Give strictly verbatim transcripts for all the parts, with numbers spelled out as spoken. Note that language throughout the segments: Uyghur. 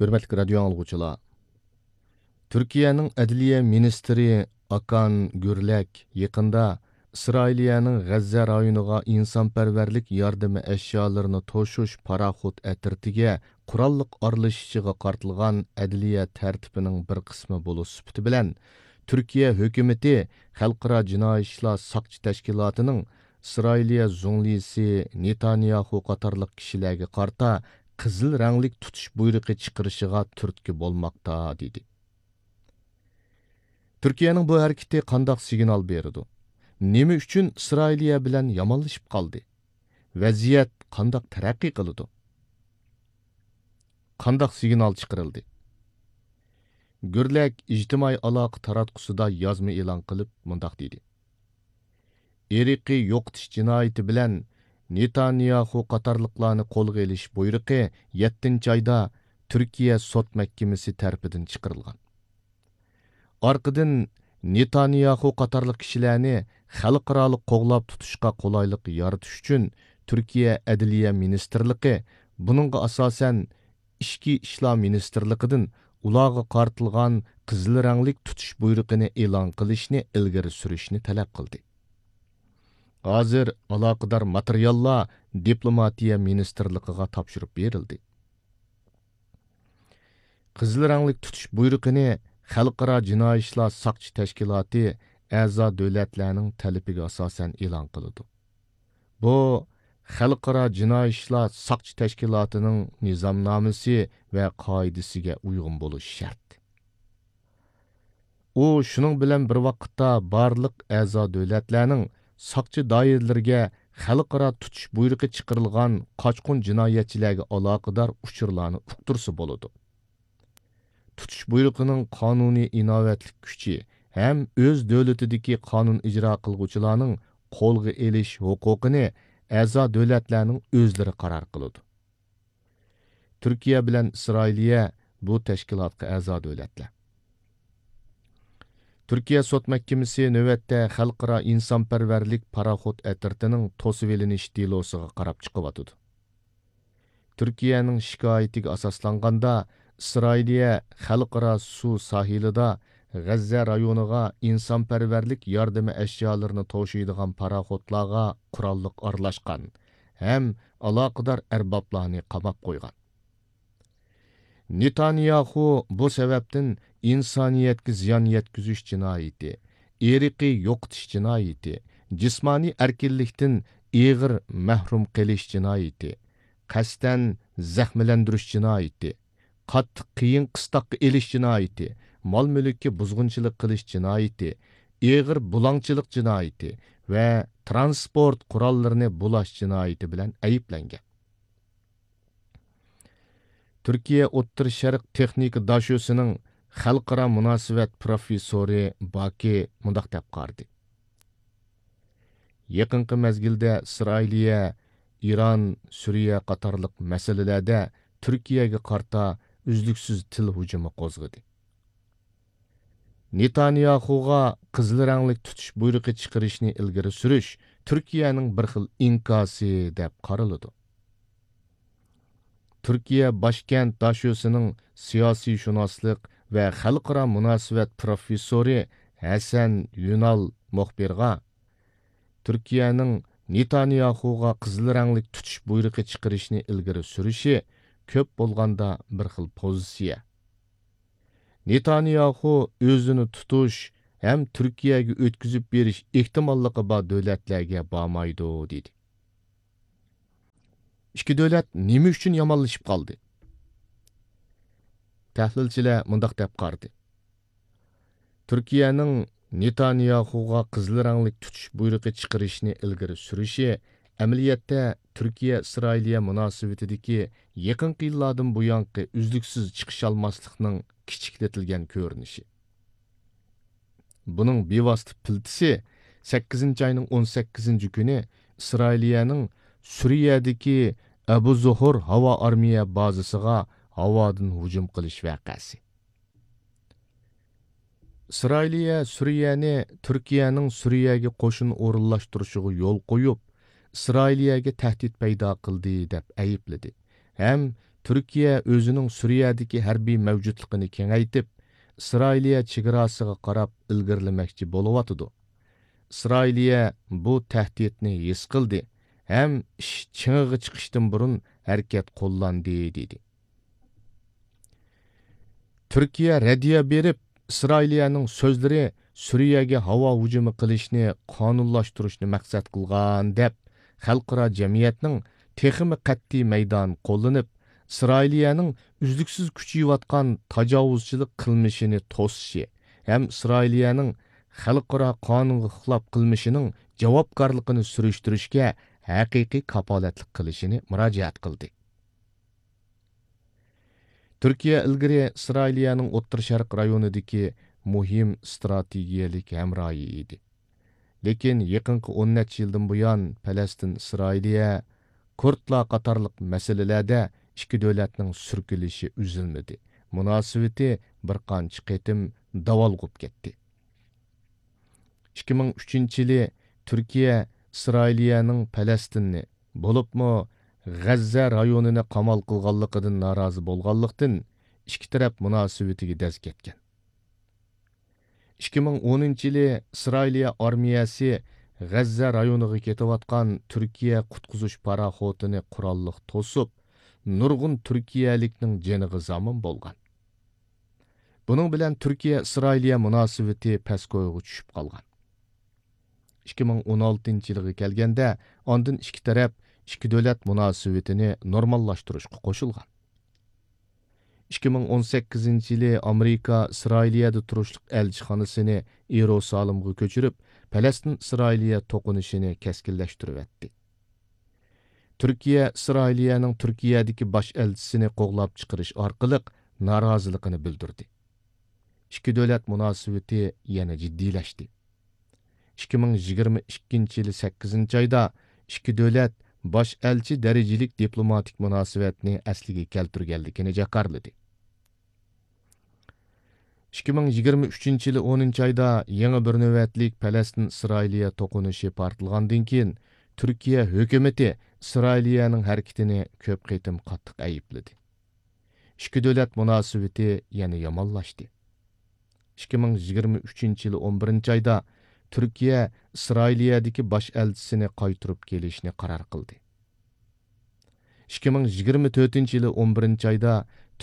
ھۆرمەتلىك رادىيو ئاڭلىغۇچىلار! تۈركىيەنىڭ ئەدلىيە مىنىستىرى ئاكان گۈرلەك يېقىندا ئىسرائىلىيەنىڭ غەززە رايونىغا ئىنسانپەرۋەرلىك ياردىمى ئەشيالىرىنى توشۇش پاراخوت ئەترىتىگە قوراللىق ئارىلىشىشىغا قارىتىلغان ئەدلىيە تەرتىپىنىڭ بىر قىسمى بولۇش سۈپىتى بىلەن، تۈركىيە ھۆكۈمىتى خەلقئارا جىنايى ئىشلار ساقچى تەشكىلاتىنىڭ ئىسرائىلىيە زۇڭلىسى نېتانياھۇ قاتارلىق كىشىلەرگە قارىتا قىزىل رەڭلىك تۇتۇش بۇيرۇقى چىقىرىشىغا تۈرتكە بولماقتا، دېدى. تۈركىيەنىڭ بۇ ھەرىكىتى قانداق سىگنال بېرىدۇ؟ نېمە ئۈچۈن ئىسرائىلىيە بىلەن يامانلىشىپ قالدى؟ ۋەزىيەت قانداق تەرەققىي قىلىدۇ؟ قانداق سىگنال چىقىرىلدى؟ گۈرلەك ئىجتىمائىي ئالاقە تاراتقۇسىدا يازما ئېلان قىلىپ مۇنداق دېدى: ئىرقىي يوقىتىش جىنايىتى بىلەن نېتانياھۇ قاتارلىقلارنى قولغا ئېلىش بۇيرۇقى يەتتىنچى ئايدا تۈركىيە سوت مەھكىمىسى تەرىپىدىن چىقىرىلغان. ئارقىدىن نېتانياھۇ قاتارلىق كىشىلەرنى خەلقئارالىق قوغلاپ تۇتۇشقا قولايلىق يارىتىش ئۈچۈن تۈركىيە ئەدلىيە مىنىستىرلىقى، بۇنىڭغا ئاساسەن ئىچكى ئىشلار مىنىستىرلىقىدىن ئۇلارغا قارىتىلغان قىزىل رەڭلىك تۇتۇش بۇيرۇقىنى ئېلان قىلىشنى ئىلگىرى سۈرۈشنى تەلەپ قىلدى. ھازىر ئالاقىدار ماتېرىياللار دىپلوماتىيە مىنىستىرلىقىغا تاپشۇرۇپ بېرىلدى. قىزىل رەڭلىك تۇتۇش بۇيرۇقىنى خەلقئارا جىنايى ئىشلار ساقچى تەشكىلاتى ئەزا دۆلەتلەرنىڭ تەلىپىگە ئاساسەن ئېلان قىلىدۇ. بۇ خەلقئارا جىنايى ئىشلار ساقچى تەشكىلاتىنىڭ نىزامنامىسى ۋە قائىدىسىگە ئۇيغۇن بولۇشى شەرت. ئۇ شۇنىڭ بىلەن بىر ۋاقىتتا بارلىق ئەزا دۆلەتلەرنىڭ ساقچى دائىرىلىرىگە خەلقئارا تۇتۇش بۇيرۇقى چىقىرىلغان قاچقۇن جىنايەتچىلەرگە ئالاقىدار ئۇچۇرلارنى ئۇقتۇرسا بولىدۇ. تۇتۇش بۇيرۇقىنىڭ قانۇنىي ئىناۋەتلىك كۈچى ھەم ئۆز دۆلىتىدىكى قانۇن ئىجرا قىلغۇچىلارنىڭ قولغا ئېلىش ھوقۇقىنى ئەزا دۆلەتلەرنىڭ ئۆزلىرى قارار قىلىدۇ. تۈركىيە بىلەن ئىسرائىلىيە بۇ تەشكىلاتقا ئەزا دۆلەتلەر. تۈركىيە سوت مەھكىمىسى نۆۋەتتە خەلقئارا ئىنسانپەرۋەرلىك پاراخوت ئەترىتىنىڭ توسۇۋېلىنىش دېلوسىغا قاراپ چىقىۋاتىدۇ. تۈركىيەنىڭ شىكايىتىگە ئاساسلانغاندا، ئىسرائىلىيە خەلقئارا سۇ ساھىلىدا غەززە رايونىغا ئىنسانپەرۋەرلىك ياردىمى ئەشيالىرىنى توشۇيدىغان پاراخوتلارغا قوراللىق ئارىلاشقان ھەم ئالاقىدار ئەربابلارنى قاماپ قويغان. نېتانياھۇ بۇ سەۋەبتىن ئىنسانىيەتكە زىيان يەتكۈزۈش جىنايىتى، ئىرقىي يوقىتىش جىنايىتى، جىسمانىي ئەركىنلىكتىن ئېغىر مەھرۇم قىلىش جىنايىتى، قەستەن زەخىملەندۈرۈش جىنايىتى، قاتتىق قىيىن قىستاققا ئېلىش جىنايىتى، مال-مۈلۈككە بۇزغۇنچىلىق قىلىش جىنايىتى، ئېغىر بۇلاڭچىلىق جىنايىتى ۋە تىرانسپورت قوراللىرىنى بۇلاش جىنايىتى بىلەن ئەيىبلەنگەن. تۈركىيە ئوتتۇرا شەرق تېخنىكا داشۆسىنىڭ خەلقئارا مۇناسىۋەت پروفېسسورى باكى مۇنداق دەپ قارىدى: يېقىنقى مەزگىلدە ئىسرائىلىيە، ئىران، سۈرىيە قاتارلىق مەسىلىلەردە تۈركىيەگە قارىتا ئۈزلۈكسىز تىل ھۇجۇمى قوزغىدى. نېتانياھۇغا قىزىل رەڭلىك تۇتۇش بۇيرۇقى چىقىرىشنى ئىلگىرى سۈرۈش تۈركىيەنىڭ بىر خىل ئىنكاسى دەپ قارىلىدۇ. تۈركىيە باشكەنت داشۆسىنىڭ سىياسىيشۇناسلىق ۋە خەلقئارا مۇناسىۋەت پروفېسسورى ھەسەن يۈنال مۇخبىرغا، تۈركىيەنىڭ نېتانياھۇغا قىزىل رەڭلىك تۇتۇش بۇيرۇقى چىقىرىشنى ئىلگىرى سۈرۈشى كۆپ بولغاندا بىر خىل پوزىتسىيە. نېتانياھۇ ئۆزىنى تۇتۇش ھەم تۈركىيەگە ئۆتكۈزۈپ بېرىش ئېھتىماللىقى بار دۆلەتلەرگە بارمايدۇ، دېدى. ئىككى دۆلەت نېمە ئۈچۈن يامانلىشىپ قالدى؟ تەھلىلچىلەر مۇنداق دەپ قارىدى: تۈركىيەنىڭ نېتانياھۇغا قىزىل رەڭلىك تۇتۇش بۇيرۇقى چىقىرىشنى ئىلگىرى سۈرۈشى ئەمەلىيەتتە تۈركىيە-ئىسرائىلىيە مۇناسىۋىتىدىكى يېقىنقى يىللاردىن بۇيانقى ئۈزلۈكسىز چىقىشالماسلىقنىڭ كىچىكلىتىلگەن كۆرۈنۈشى. بۇنىڭ بىۋاسىتە پىلتىسى سەككىزىنچى ئاينىڭ ئون سەككىزىنچى كۈنى ئىسرائىلىيەنىڭ سۈرىيەدىكى ئەبۇ زوھۇر ھاۋا ئارمىيە بازىسىغا ھاۋادىن ھۇجۇم قىلىش ۋەقەسى. ئىسرائىلىيە سۈرىيەنى تۈركىيەنىڭ سۈرىيەگە قوشۇن ئورۇنلاشتۇرۇشىغا يول قويۇپ، ئىسرائىلىيەگە تەھدىت پەيدا قىلدى، دەپ ئەيىبلىدى ھەم تۈركىيە ئۆزىنىڭ سۈرىيەدىكى ھەربىي مەۋجۇتلۇقىنى كېڭەيتىپ، ئىسرائىلىيە چېگراسىغا قاراپ ئىلگىرىلىمەكچى بولۇۋاتىدۇ. ئىسرائىلىيە بۇ تەھدىتنى ھېس قىلدى ھەم ئىش چىڭىغا چىقىشتىن بۇرۇن ھەرىكەت قوللاندى، دېدى. تۈركىيە رەددىيە بېرىپ، ئىسرائىلىيەنىڭ سۆزلىرى سۈرىيەگە ھاۋا ھۇجۇمى قىلىشنى قانۇنلاشتۇرۇشنى مەقسەت قىلغان دەپ، خەلقئارا جەمئىيەتنىڭ تېخىمۇ قەتئىي مەيدان قوللىنىپ، ئىسرائىلىيەنىڭ ئۈزلۈكسىز كۈچىيىۋاتقان تاجاۋۇزچىلىق قىلمىشىنى توسۇشى ھەم ئىسرائىلىيەنىڭ خەلقئارا قانۇنغا خىلاپ قىلمىشىنىڭ جاۋابكارلىقىنى سۈرۈشتۈرۈشكە ھەقىقىي كاپالەتلىك قىلىشىنى مۇراجىئەت قىلدى. تۈركىيە ئىلگىرى ئىسرائىلىيەنىڭ ئوتتۇرا شەرق رايونىدىكى مۇھىم ئىستراتېگىيەلىك ھەمراھى ئىدى. لېكىن يېقىنقى ئون نەچچە يىلدىن بۇيان پەلەستىن ئىسرائىلىيە، كۇردلار قاتارلىق مەسىلىلەردە ئىككى دۆلەتنىڭ سۈركىلىشى ئۈزۈلمىدى، مۇناسىۋىتى بىر قانچە قېتىم داۋالغۇپ كەتتى. ئىككى مىڭ ئۈچىنچى يىلى تۈركىيە ئىسرائىلىيەنىڭ پەلەستىننى، بولۇپمۇ غەززە رايونىنى قامال قىلغانلىقىدىن نارازى بولغانلىقتىن، ئىككى تەرەپ مۇناسىۋىتىگە دەز كەتكەن. ئىككى مىڭ ئونىنچى يىلى ئىسرائىلىيە ئارمىيەسى غەززە رايونىغا كېتىۋاتقان تۈركىيە قۇتقۇزۇش پاراخوتىنى قوراللىق توسۇپ، نۇرغۇن تۈركىيەلىكنىڭ جېنىغا زامىن بولغان. بۇنىڭ بىلەن تۈركىيە ئىسرائىلىيە مۇناسىۋىتى پەسكويغا چۈشۈپ قالغان. ئىككى مىڭ ئون ئالتىنچى يىلىغا كەلگەندە، ئاندىن ئىككى تەرەپ ئىككى دۆلەت مۇناسىۋىتىنى نورماللاشتۇرۇشقا قوشۇلغان. ئىككى مىڭ ئون سەككىزىنچى يىلى ئامېرىكا ئىسرائىلىيەدە تۇرۇشلۇق ئەلچىخانىسىنى يېرۇسالىمغا كۆچۈرۈپ، پەلەستىن ئىسرائىلىيە توقۇنۇشىنى كەسكىنلەشتۈرۈۋەتتى. تۈركىيە ئىسرائىلىيەنىڭ تۈركىيەدىكى باش ئەلچىسىنى قوغلاپ چىقىرىش ئارقىلىق نارازىلىقىنى بىلدۈردى. ئىككى دۆلەت مۇناسىۋىتى يەنە جىددىيلەشتى. ئىككى مىڭ يىگىرمە ئىككىنچى يىلى سەككىزىنچى ئايدا ئىككى دۆلەت باش ئەلچى دەرىجىلىك دىپلوماتىك مۇناسىۋەتنى ئەسلىگە كەلتۈرگەنلىكىنى جاكارلىدى. ئىككى مىڭ يىگىرمە ئۈچىنچى يىلى ئونىنچى ئايدا يېڭى بىر نۆۋەتلىك پەلەستىن ئىسرائىلىيە توقۇنۇشى پارتلىغاندىن كېيىن، تۈركىيە ھۆكۈمىتى ئىسرائىلىيەنىڭ ھەرىكىتىنى كۆپ قېتىم قاتتىق ئەيىبلىدى. ئىككى دۆلەت مۇناسىۋىتى يەنە يامانلاشتى. ئىككى مىڭ يىگىرمە ئۈچىنچى يىلى ئون بىرىنچى ئايدا تۈركىيە ئىسرائىلىيەدىكى باش ئەلچىسىنى قايتۇرۇپ كېلىشنى قارار قىلدى. ئىككى مىڭ يىگىرمە تۆتىنچى يىلى ئون بىرىنچى ئايدا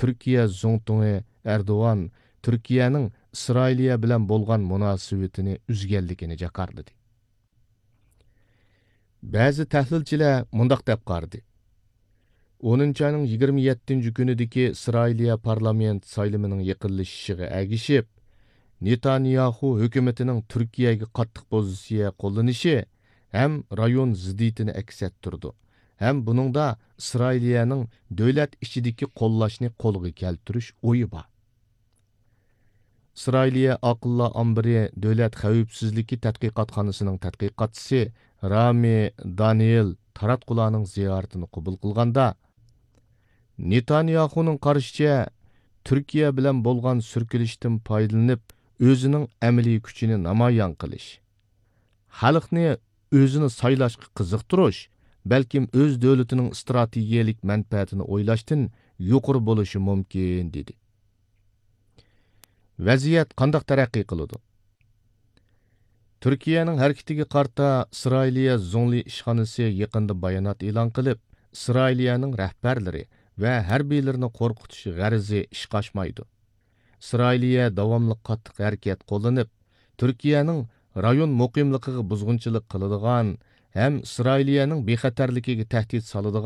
تۈركىيە زۇڭتۇڭى ئەردوغان تۈركىيەنىڭ ئىسرائىلىيە بىلەن بولغان مۇناسىۋىتىنى ئۈزگەنلىكىنى جاكارلىدى. بەزى تەھلىلچىلەر مۇنداق دەپ قارىدى: ئونىنچى ئاينىڭ يىگىرمە يەتتىنچى كۈنىدىكى ئىسرائىلىيە پارلامېنت سايلىمىنىڭ يېقىنلىشىشىغا ئەگىشىپ، نېتانياخۇ ھۆكۈمىتىنىڭ تۈركىيەگە قاتتىق پوزىتسىيە قوللىنىشى ھەم رايون زىددىيىتىنى ئەكس ئەتتۈرىدۇ ھەم بۇنىڭدا ئىسرائىلىيەنىڭ دۆلەت ئىچىدىكى قوللاشنى قولغا كەلتۈرۈش ئويى بار. ئىسرائىلىيە ئاقىللار ئامبىرى دۆلەت خەۋپسىزلىكى تەتقىقاتخانىسىنىڭ تەتقىقاتچىسى رامى دانىيېل تاراتقۇلارنىڭ زىيارىتىنى قوبۇل قىلغاندا، نېتانياخۇنىڭ قارىشىچە، تۈركىيە بىلەن بولغان سۈركىلىشتىن پايدىلىنىپ، ئۆزىنىڭ ئەمەلىي كۈچىنى نامايان قىلىش، خەلقنى ئۆزىنى سايلاشقا قىزىقتۇرۇش، بەلكىم ئۆز دۆلىتىنىڭ ئىستراتېگىيەلىك مەنپەئەتىنى ئويلاشتىن يۇقىرى بولۇشى مۇمكىن، دېدى. ۋەزىيەت قانداق تەرەققىي قىلىدۇ؟ تۈركىيەنىڭ ھەرىكىتىگە قارىتا ئىسرائىلىيە زۇڭلى ئىشخانىسى يېقىندا بايانات ئېلان قىلىپ، ئىسرائىلىيەنىڭ رەھبەرلىرى ۋە ھەربىيلىرىنى قورقۇتۇش غەرىزى ئىشقا ئاشمايدۇ. ئىسرائىلىيە داۋاملىق قاتتىق ھەرىكەت قوللىنىپ، تۈركىيەنىڭ رايون مۇقىملىقىغا بۇزغۇنچىلىق قىلىدىغان ھەم ئىسرائىلىيەنىڭ بىخەتەرلىكىگە تەھدىت سالىدىغان